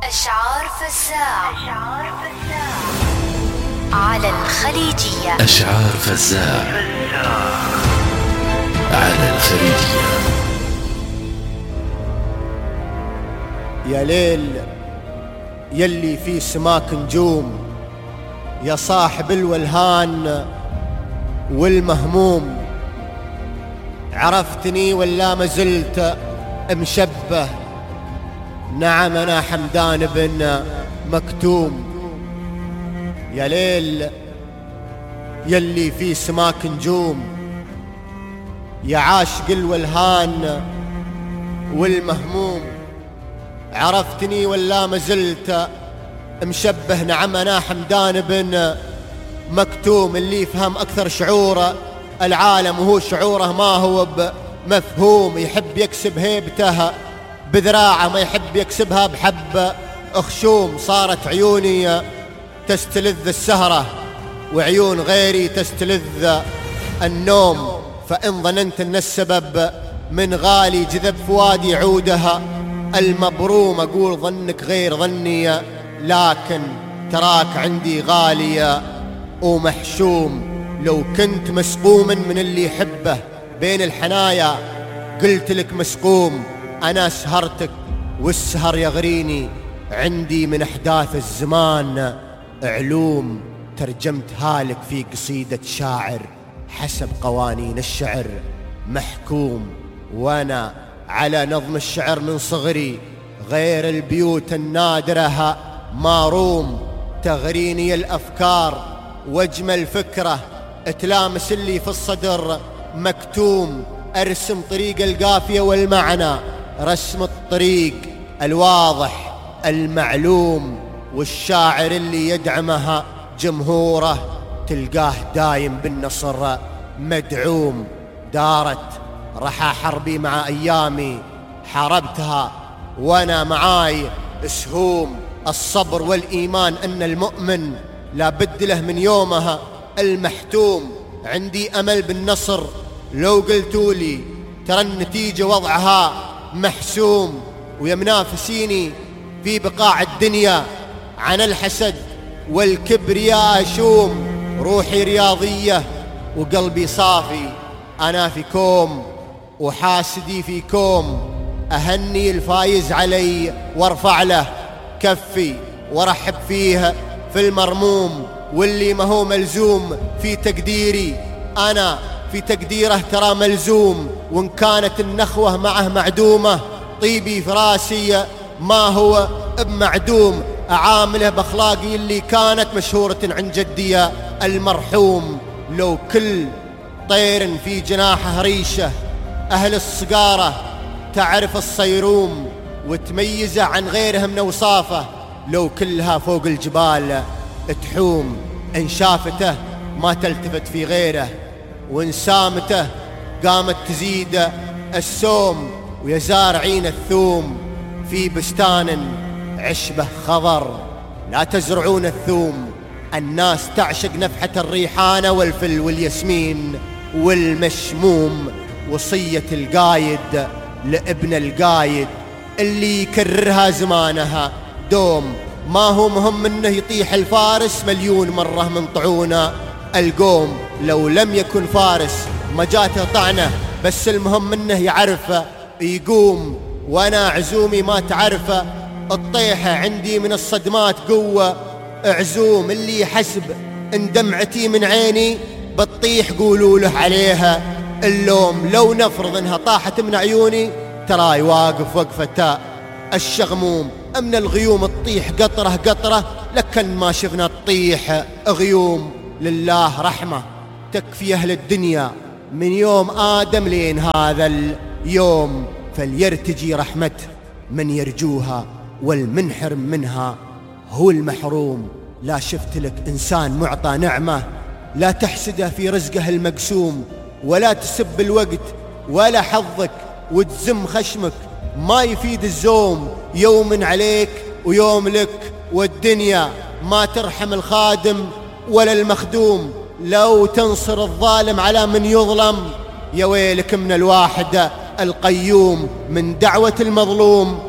أشعار فزاع على الخليجية. أشعار فزاع على الخليجية. يا ليل يلي في سماك نجوم، يا صاحب الولهان والمهموم، عرفتني ولا مازلت مشبه؟ نعم أنا حمدان بن مكتوم. يا ليل يلي في سماك نجوم، يا عاشق الولهان والمهموم، عرفتني ولا مازلت مشبه؟ نعم أنا حمدان بن مكتوم، اللي يفهم أكثر شعور العالم وهو شعوره ما هو بمفهوم، يحب يكسب هيبته بذراعه ما يحب يكسبها بحب أخشوم. صارت عيوني تستلذ السهرة وعيون غيري تستلذ النوم، فإن ظننت أن السبب من غالي جذب فؤادي عودها المبروم، أقول ظنك غير ظني لكن تراك عندي غالية ومحشوم. لو كنت مسقوما من اللي يحبه بين الحنايا قلت لك مسقوم، أنا سهرتك والسهر يغريني، عندي من أحداث الزمان علوم، ترجمتها لك في قصيدة شاعر حسب قوانين الشعر محكوم. وأنا على نظم الشعر من صغري غير البيوت النادرة ماروم، تغريني الأفكار واجمل فكرة تلامس اللي في الصدر مكتوم، أرسم طريق القافية والمعنى رسم الطريق الواضح المعلوم، والشاعر اللي يدعمها جمهوره تلقاه دايم بالنصر مدعوم. دارت رحى حربي مع أيامي حاربتها وأنا معاي سهوم، الصبر والإيمان أن المؤمن لا بد له من يومها المحتوم، عندي أمل بالنصر لو قلتولي ترى النتيجة وضعها محسوم، ويا منافسيني في بقاع الدنيا عن الحسد والكبرياء أشوم، روحي رياضية وقلبي صافي، أنا في كوم وحاسدي في كوم، أهني الفايز علي وارفع له كفي وارحب فيه في المرموم، واللي ما هو ملزوم في تقديري أنا في تقديره ترى ملزوم، وإن كانت النخوة معه معدومة طيبي في راسي ما هو بمعدوم، أعامله بأخلاقي اللي كانت مشهورة عن جدي المرحوم. لو كل طير في جناحه ريشة أهل الصقارة تعرف الصيروم وتميزه عن غيرها من أوصافه، لو كلها فوق الجبال تحوم، إن شافته ما تلتفت في غيره، وإن سامته قامت تزيد السوم، ويا زارعين الثوم في بستان عشبه خضر لا تزرعون الثوم، الناس تعشق نفحة الريحانة والفل والياسمين والمشموم، وصية القايد لابن القايد اللي يكررها زمانها دوم، ما هو مهم انه يطيح الفارس مليون مرة من طعونه القوم، لو لم يكن فارس ما جاته طعنه، بس المهم انه يعرف يقوم، وانا عزومي ما تعرفه الطيحة عندي من الصدمات قوة عزوم، اللي يحسب ان دمعتي من عيني بتطيح قولوا له عليها اللوم، لو نفرض انها طاحت من عيوني تراي واقف وقفة الشغموم، من الغيوم تطيح قطرة قطرة لكن ما شفنا تطيح غيوم، لله رحمة تكفي أهل الدنيا من يوم آدم لين هذا اليوم، فليرتجي رحمة من يرجوها والمنحرم منها هو المحروم، لا شفت لك إنسان معطى نعمة لا تحسده في رزقه المقسوم، ولا تسب الوقت ولا حظك وتزم خشمك، ما يفيد الزوم، يوم عليك ويوم لك، والدنيا ما ترحم الخادم ولا المخدوم، لو تنصر الظالم على من يظلم يا ويلك من الواحد القيوم، من دعوة المظلوم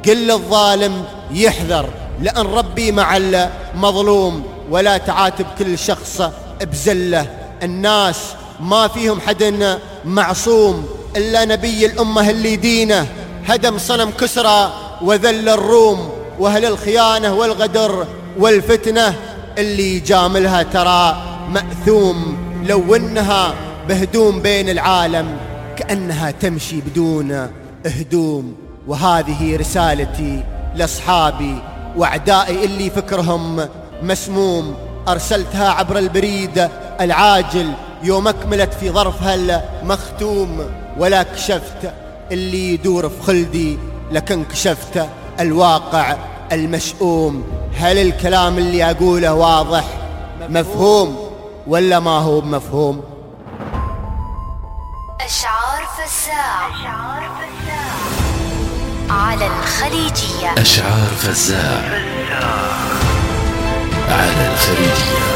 قل للظالم يحذر، لأن ربي مع المظلوم، ولا تعاتب كل شخص بزله. الناس ما فيهم حد معصوم إلا نبي الأمة اللي دينه هدم صنم كسرى وذل الروم، وأهل الخيانة والغدر والفتنة اللي يجاملها ترى مأثوم. لو إنها بهدوم بين العالم كأنها تمشي بدون هدوم. وهذه رسالتي لأصحابي وأعدائي اللي فكرهم مسموم، أرسلتها عبر البريد العاجل يوم أكملت في ظرفها المختوم. ولا كشفت اللي يدور في خلدي، لكن كشفت الواقع المشؤوم. هل الكلام اللي أقوله واضح مفهوم ولا ما هو مفهوم؟ أشعار فزاع على الخليجية. أشعار فزاع على الخليجية.